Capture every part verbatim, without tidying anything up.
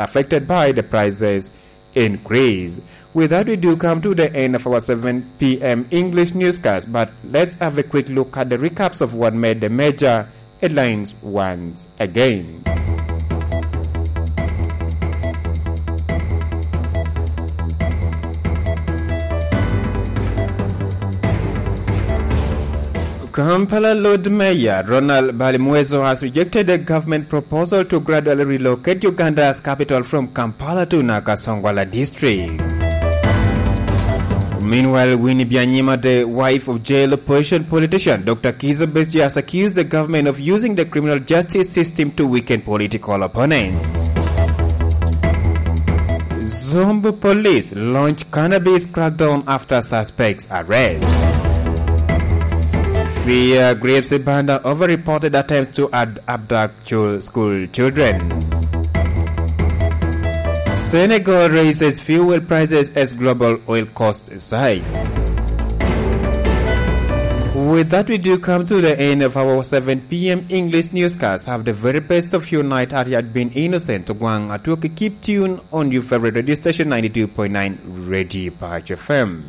affected by the prices increase. With that, we do come to the end of our seven p m English newscast, but let's have a quick look at the recaps of what made the major headlines once again. Kampala Lord Mayor Ronald Balimwezo has rejected the government proposal to gradually relocate Uganda's capital from Kampala to Nakasongola district. Meanwhile, Winnie Byanyima, the wife of jail opposition politician Doctor Kizza Besigye, has accused the government of using the criminal justice system to weaken political opponents. Zombo police launch cannabis crackdown after suspects arrest. Fear grips Ibanda over reported attempts to ad- abduct chil- school children. Senegal raises fuel prices as global oil costs side. With that, we do come to the end of our seven p m English newscast. Have the very best of your night. Had you had been innocent, Ogwang Atwoki, keep tuned on your favorite radio station, ninety-two point nine Radio Patch F M.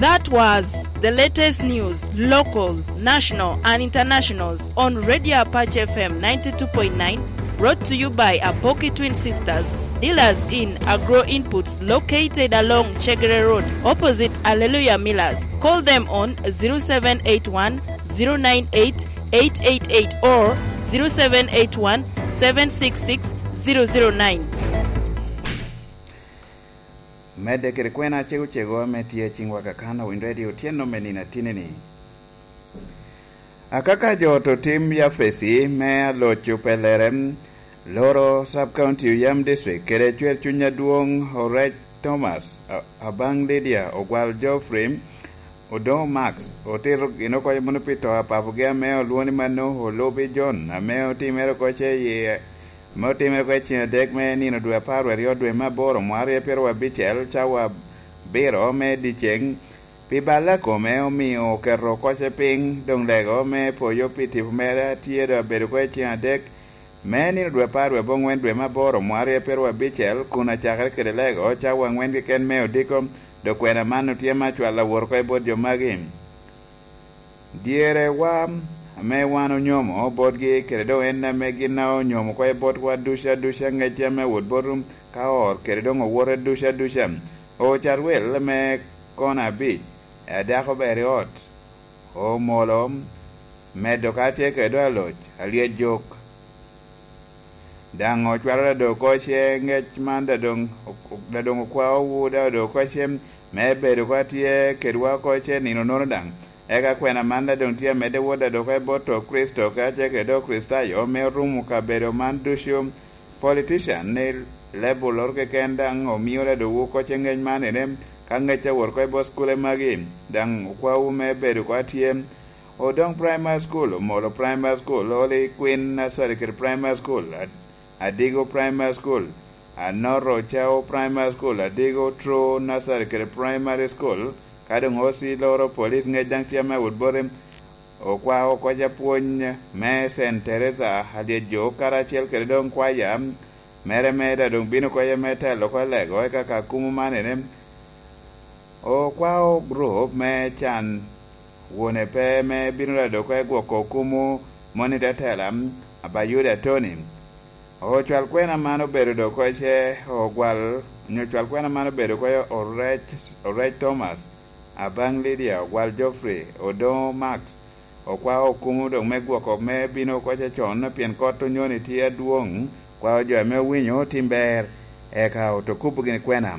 That was the latest news, locals, national and internationals on Radio Apache F M ninety-two point nine, brought to you by Apoki Twin Sisters, dealers in agro inputs located along Chegere Road, opposite Alleluia Millers. Call them on zero seven eight one, zero nine eight, eight eight eight or zero seven eight one, seven six six, zero zero nine. Medde kede kwena acego cego ame tye i ciŋwa kakano Winy Radio otyeno me nino atinni-ni. Akaka jo oto tim Yafesi me aloc opellere, loro Sub County Oyam District kede cwer cuny adwoŋ Orec Thomas, a- Abaŋ Lydia, Ogwal Geoffrey, Odoŋo Max otito gin oko mono pi to a papogi ame olwoŋo ni Mano Olubi John, ame otimere oko ce i, ame otimere oko i ceng adek me nino dwe apar aryo dwe me aboro mwaka aryo pyeraryo abicel, cawa abiro me dyeceŋ. Pi balle a kome omio oketo oko ce piny, doŋ lego me poyo pi tipo mere a tye doŋ abedo oko i ceng adek, me nino dwe apar dwe aboŋwen dwe me aboro mwaka aryo pyeraryo abicel, kun acakere kede lego cawa aŋwen keken me odiko, dok kwena man otye me acwal awot oko i bot jo magi. Dyerewa ame wan onyomo botgi, kede doŋ en ame gin a onyomo oko i botwa ducu aduca, ŋec tye ame wot bot ka or, kede doŋ owote ducu aduca. Ocarwel me kona abic, a dako ber i ot, omolo, medo ka tye kede aloc, alyet jok. Daŋ ocwalo dado oko ce ŋec man, dadoŋ, dadoŋ okwaowu dado oko ce me bedo ka tye kedwa oko ce nino nono daŋ. Eka kwena man dadoŋ tye amedde wot dado oko i bot to Kricito, ka tye kede Okricitayo, me orumo kabedo man ducu. Politician ni lebulloro keken daŋ omio dado oko ce ŋec man ene, ka ŋec awot oko i bot cukule magi, daŋ okwaowu me bedo ka tye Odoŋ Primary School, Omolo Primary School, Holy Queen Nursery kede Primary School, Ad- Adigo Primary School, Anoro Ocao Primary School, Adigo True Nursery kede Primary School, ka doŋ O C loro police ŋec daŋ tye ame wot bote, okwao oko ca pwony me Saint Teresa Alyet Jo karacel kede doŋ kwaya mere me da doŋ bino oko me telo oko lego, eka ka kumo man ene, okwao gurup me can wone pe me bino rado oko i gwoko kumo moni tetela, Abayuda Tony. Ocwal kwena man obedo dok oko ce ogwal, onyo ocwal kwena man obedo oko orec, orec Thomas, Abaŋ Lydia, ogwal Geoffrey, Odoŋo Max, okwao okumo dok me gwoko me bino oko ce con, pien kot onyoni tye adwoŋ, kwao jo ame owinyo tim ber, eka oto kubo gini kwena.